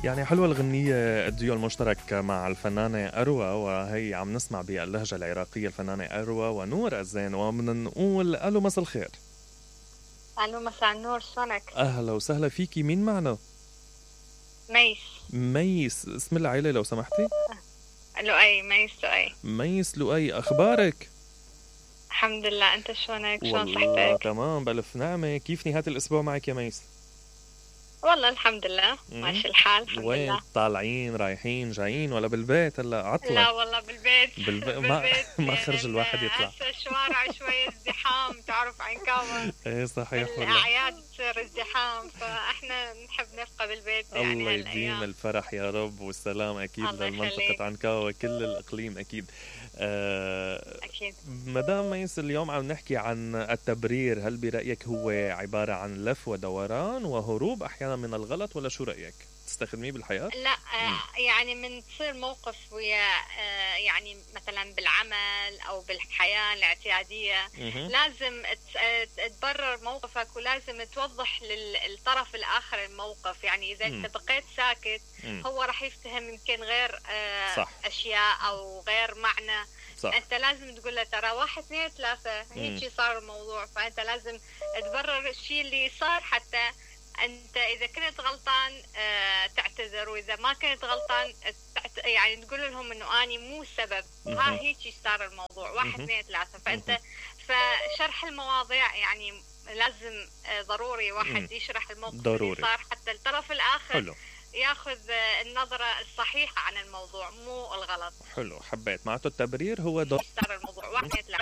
يعني حلوة الغنية الديو المشترك مع الفنانة أروى، وهي عم نسمع باللهجة العراقية الفنانة أروى ونور الزين، ومن نقول ألو مساء الخير. الو مساء النور، شلونك؟ أهلا وسهلا فيكي، مين معنا؟ ميس. ميس، اسم العيلة لو سمحتي؟ لؤي، ميس لؤي. ميس لؤي، أخبارك؟ الحمد لله، أنت شلونك؟ شلون والله صحتك؟ تمام بألف نعمة. كيف نهاية الأسبوع معك يا ميس؟ والله الحمد لله ماشي الحال، الحمد وين لله. طالعين رايحين جايين ولا بالبيت هلا عطلة؟ لا والله بالبيت. ما خرج الواحد يطلع. هسه الشوارع شوية ازدحام، تعرف عنكاوة. ايه صحيح والله. الأعياد تصير ازدحام، فاحنا نحب نبقى بالبيت يعني الله يديم هالأيام. الفرح يا رب والسلام أكيد الله للمنطقة يخليك. عنكاوة كل الإقليم أكيد. أكيد. مدام ميس، اليوم عم نحكي عن التبرير. هل برأيك هو عبارة عن لف ودوران وهروب أحيانا من الغلط، ولا شو رأيك؟ تستخدميه بالحياة؟ لا يعني من تصير موقف ويا يعني مثلا بالعمل او بالحياة الاعتيادية لازم تبرر موقفك، ولازم توضح للطرف الاخر الموقف. يعني اذا انت بقيت ساكت هو راح يفتهم يمكن غير اشياء او غير معنى. صح. انت لازم تقول له ترى 1 2 3 هيك صار الموضوع، فانت لازم تبرر الشيء اللي صار، حتى أنت إذا كنت غلطان تعتذر، وإذا ما كنت غلطان يعني تقول لهم إنه أنا مو السبب، ها هيك صار الموضوع 1 2 3. فأنت فشرح المواضيع يعني لازم ضروري واحد يشرح الموقف ضروري. اللي صار حتى الطرف الآخر حلو. ياخذ النظرة الصحيحة عن الموضوع مو الغلط. حلو، حبيت. معناته التبرير هو صار الموضوع 1 2 3.